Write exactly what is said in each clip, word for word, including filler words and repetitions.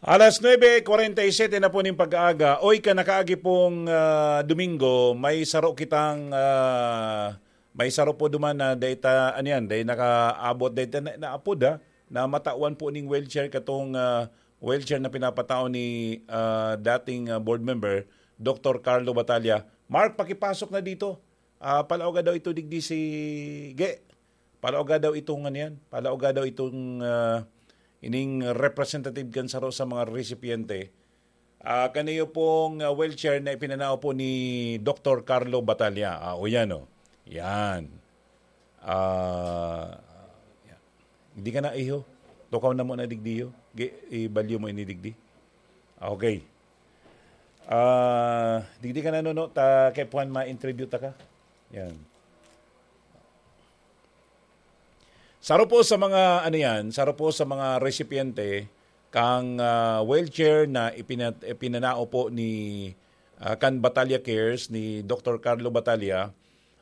Alas nuebe kwarenta y siete na po ning pag-aaga. Oy, kan nakaagi pong, ah, Domingo, may saro kitang, ah, may saro po duman na data, ano yan, dahil nakaabot, dahil na, naapod, ha, na matawan po ning wheelchair katong, ah, wheelchair na pinapatao ni, ah, dating, ah, board member, Doktor Carlo Batalla. Mark, pakipasok na dito. Ah, palaoga daw ito digdi si Ge. Palaoga daw itong ano yan. Palaoga daw itong, ah, ining representative kan saro sa mga recipiente. Ah, kaniyo pong, ah, wheelchair na ipinanao po ni Doktor Carlo Batalla. Ah, o yan, o. Yan. Ah, yan. Hindi ka na, iho. Tukaw na mo na digdiyo. Gi-, ibalyo mo ini digdi. Okay. Ah, digdi ka na, Nuno. Ta, kay Puan, ma-interview ta ka. Yan. Saro po sa mga, ano yan, saro po sa mga recipiente kang, ah, wheelchair na ipina-, ipinanao po ni, ah, kan Batalla Cares, ni Doktor Carlo Batalla,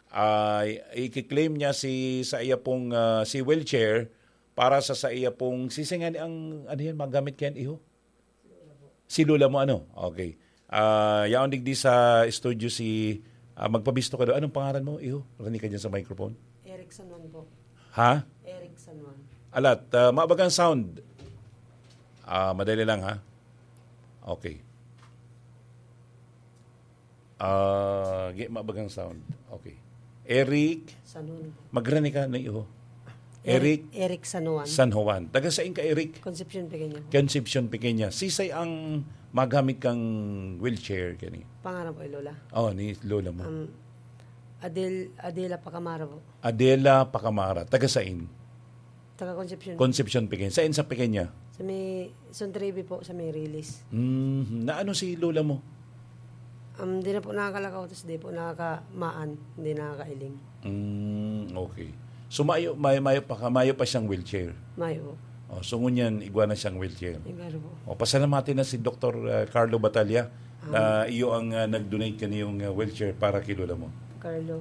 ay i-claim niya si, sa iya pong, ah, si wheelchair para sa, sa iya pong, sisay nga ni ang, ano yan, magamit kayan, iho? Si lola mo, ano? Okay. Ah, yaon digdi sa studio si, ah, magpabisto ka daw. Anong pangalan mo, iho? Rani ka dyan sa microphone. Eric San Juan po. Ha? Eric San Juan. Alat, ah, mabagang sound. Ah, madali lang, ha? Okay. Ah, gi-, mabagang sound. Okay. Eric, San Juan po. Magrani ka na, iho. Eric Eric San Juan. San Juan. Taga sain ka, Eric? Concepcion Pequeña po. Concepcion Pequeña. Sisay ang magamit kang wheelchair kani? Pangalan po, Lola. Oh, ni lola mo. Um, Adel-, Adela Pacamara po. Adela Pacamara. Taga sain? Taga Concepcion. Concepcion Pequeña. Sain sa Pequeña? Sa may Sontribe po, sa may Rilis. Mm, na ano si lola mo? Um, di na po nakakalakaw, tas di po nakakamaan, di nakakailing. Mm, okay. So, mayo, may, mayo pa ka, mayo pa siyang wheelchair? Mayo po. Oh, so, ngunyan, igwa na siyang wheelchair? Igwa na po. Oh, pasalamati na si Doktor, ah, Carlo Batalla na iyo ang, ah, nag-donate kaniyong, ah, wheelchair para kay lola mo. Carlo.